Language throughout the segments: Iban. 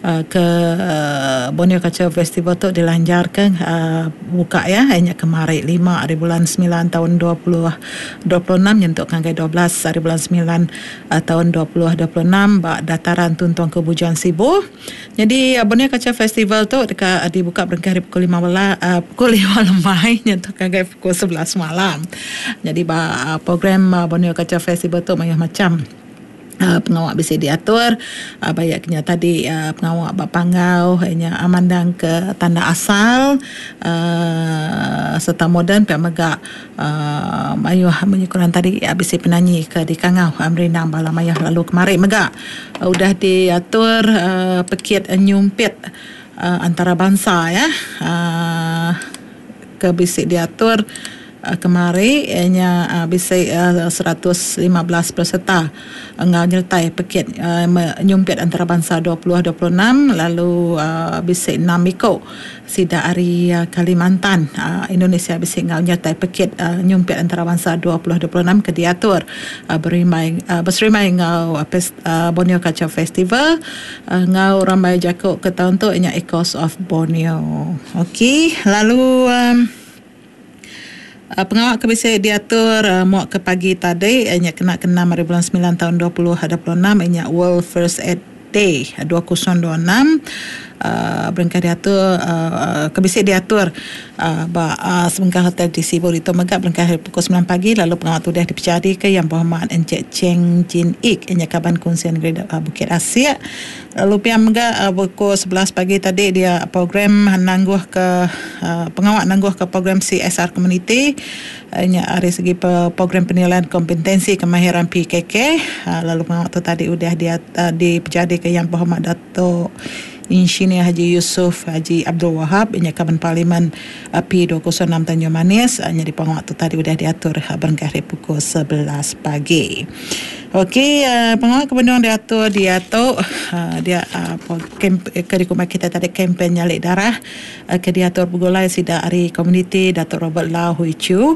Ke Borneo Cultural Festival tu dilanjarka buka iya nya kemari lima ari bulan semilan taun 2026 nyentuk ngagai 12 ari bulan semilan taun 2026 ba Dataran Tun Tuanku Bujang Sibu. Nyadi Borneo Cultural Festival tu deka dibuka berengkah ari pukul lima bela pukul lima lemai nyentuk ngagai pukul 11 malam. Nyadi ba program Borneo Cultural Festival tu mayuh macham. Pengawa bisi diatur ba iya ke nya tadi pengawa ba panggau iya nya mandang ke tanda asal uhh serta moden pia mega uhh mayuh munyi ku orang tadi bisi penanyi ke dikangau merindang bala mayuh lalu kemari mega udah diatur uhh pekit nyumpit antarabansa iya uhh ke bisi diatur. Kemari iya nya bisi 115 peserta enggau nyertai pekit nyumpit antarabansa 2026 lalu bisi enam iku sida ari Kalimantan, Indonesia bisi enggau nyertai pekit nyumpit antarabansa 2026 ke diatur berimbai beserimbai enggau Borneo Culture Festival enggau rambai jaku ke taun tu iya nya Echoes of Borneo. Okey lalu. Pengawa ke bisi diatur muak ke pagi tadi iya nya kena ke enam ari bulan semilan taun 2026 iya nya World First Aid Day 2026 berengkah diatur ke bisi diatur ba sebengkah hotel di Sibu ditu mega berengkah ari pukul semilan pagi lalu pengawa tu udah dipejadika Yang Berhormat Encik Cheng Jin Ik iya nya Kaban Kunsil Negeri Bukit Asik. Lalu pia mega pukul 11 pagi tadi dia program nangguhka pengawa nangguhka program CSR Komuniti nya ari segi program penilaian kompetensi kemahiran PKK lalu pengawa tu tadi udah dipejadika Yang Berhormat Dato Insinyur Haji Yusuf Haji Abdul Wahab nya Kaban Parlimen P206 Tanjung Manis nyadi pengawa tu tadi udah diatur berengkah ari pukul 11 pagi. Okey pengawa ke benung diatur diatu dia ke dikumbai kitai tadi kempen nyali darah ke diatur begulai sida ari komuniti Datuk Robert Lau Hui Chu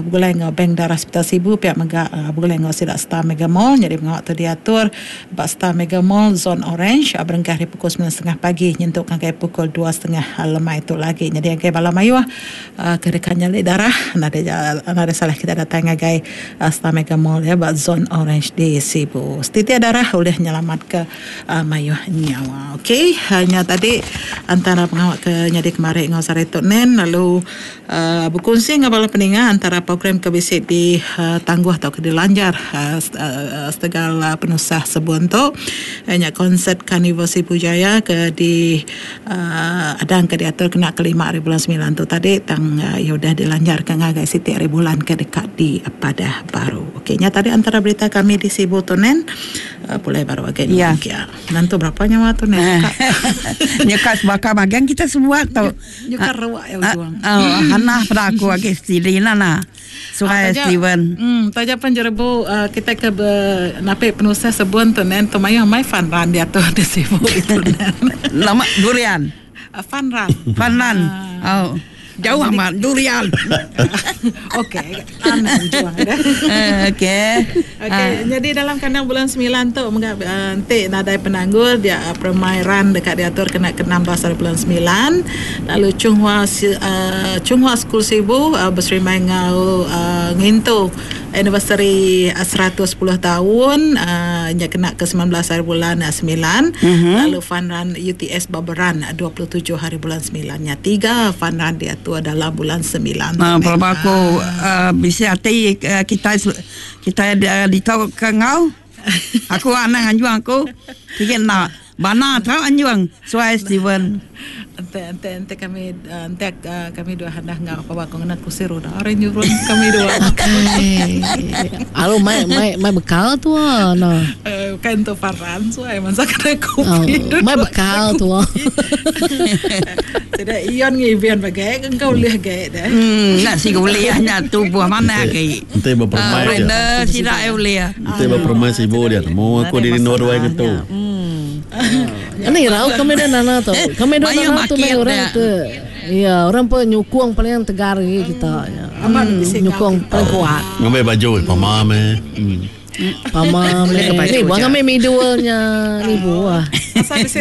begulai enggau Bank Darah Hospital Sibu pia mega begulai enggau sida Star Mega Mall nyadi pengawa tu diatur ba Star Mega Mall Zon Orange berengkah ari pukul semilan setengah pagi nyentuk ngagai pukul dua setengah lemai tu lagi nyadi ngagai bala mayuh Ke deka nyali darah nadai nadai salah kita datai ngagai Star Mega Mall iya ba Zon Orange di Sibu. Setitik darah ulih nyelamatka mayuh nyawa. Okey nya tadi antara pengawa ke nyadi kemari enggau sehari tu nen lalu bekunsi enggau bala peninga antara program ke bisi di tangguh tauka dilanjar setegal penusah sebun tu iya nya konsert Karnival Sibu Jaya ke di Adang ke diatur kena ke lima hari bulan semilan tu tadi tang iya udah dilanjarka ngagai siti hari bulan ke deka dipadah baru. Okey nya tadi antara berita kami di Sibu tu nen. Pulai baru agi Ya. Kia. Nentu berapa nyawa tu nen nyuka. Nyuka sebaka bagian kita sebuat tu. Nyuka ruak ya ujung. Oh, Hannah peda aku agi stidi nah. Surai Steven. Hmm, taja pan jerebu uh, kita ke be, napi penusah sebun tu nen tu mayuh mai fun run diatu di Sibu itu nen. Lama durian. Fun run. Fun run. Uh. Oh. Jauh amat durian. Okey, tanah ujung dah. Okey. Okey, jadi dalam kandang bulan 9 tu mega enti nadai penanggul dia permai run deka diatur kena ke 16 hari bulan 9 lalu Chung Hua Chung Hua School Sibu beserimbai enggau ngintu anniversary 110 taun nya kena ke 19 hari bulan 9 lalu fun run UTS Baberan 27 hari bulan 9 nya tiga fun run diatur dalam bulan 9 tu. Pelaba aku bisi ati kitai kitai ditu ke enggau aku anang anjung aku sigi enda bana tau anjung suai Steven. Enti enti enti kami enti kami dua handah enggau apa aku ngena kursi roda ari nyurun kami dua. Akai. Alu mai mai mai bekal tua nah. Bukan untuk paran suai masa kena kopi. Oh, mai bekal tua. Sida ion ngibian bagai engkau ulih gai deh. Hmm, nak si ulih nya tubuh mana agi. Enti bepermai dia. Render sida ulih. Enti bepermai sibu dia temu aku diri endur wai ngetu. Hmm. Ini irau kami dah nana tu. Kami dah nana tu mai orang tu. Ya, orang pun nyukung paling tegar lagi kita. Hmm, nyukung paling kuat. Ngambil baju pama meh. Hmm. Pama meh. Ni buah ngambil midulnya ni buah. Asal bisi.